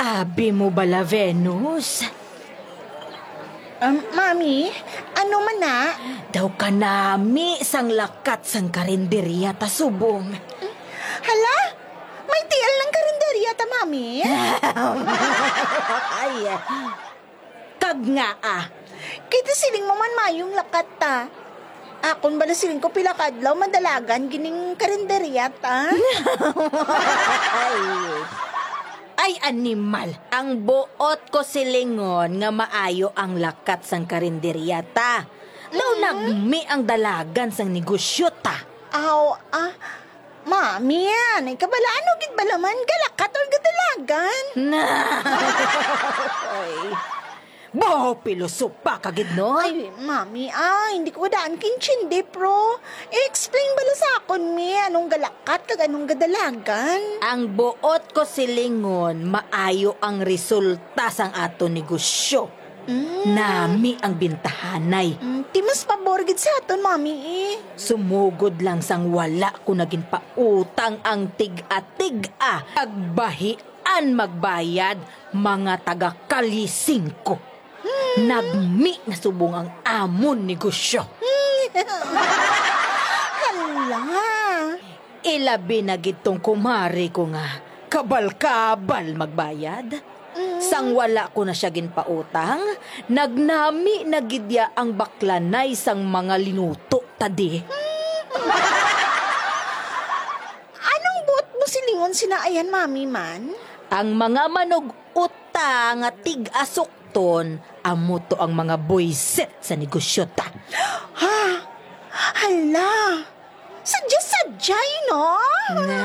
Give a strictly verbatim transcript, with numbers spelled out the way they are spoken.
Abi mo bala, Venus? Um, Mami, ano man na? Daw kanami sang lakat sang karinderya ta subong. Hala, may tiil ng karinderya ta, Mami? Ay, kag nga, ah. Kita siling mo man mayong lakat ta. Akon bala siling ko pila ka adlaw madalagan gining karinderya ta. Ay. Ay, animal. Ang buot ko silingon nga maayo ang lakat sang karinderya ta. Daw Mm. nagmi ang dalagan sang negosyo ta. Aw, ah, Mami, anay ka bala, ano gid bala man, galakat or gadalagan? Na. Ay. Baho, pilosopa ka gid, no? Ay, Mami, ah, hindi ko daan kintindi, pro. I-explain bala sa akon, mi, anong galakat kag anong gadalagan? Ang buot ko silingon, maayo ang resulta sang aton negosyo. Mm. Nami ang bintahanay. Mm, ti mas pabor gid sa aton, Mami, eh. Sumugod lang sang wala ko na ginpautang ang tig-atig-a. Kag bahian magbayad, mga taga Kalye Singko. Hmm. Nagmi na subong ang amon negosyo. Hmm. Hala. Ilabi na gid tong kumari ko nga kabal-kabal magbayad. Mm. Sang wala ko na siya ginpautang, nagnami na gid ya ang baklanay sang mga linuto ta di. Anong buot mo silingon sina ayan, Mami, man? Ang mga manug-uta nga tig-asukton, amo to ang mga buisit sa negosyo ta. Ha? Hala! Sadya-sadya, no? Na.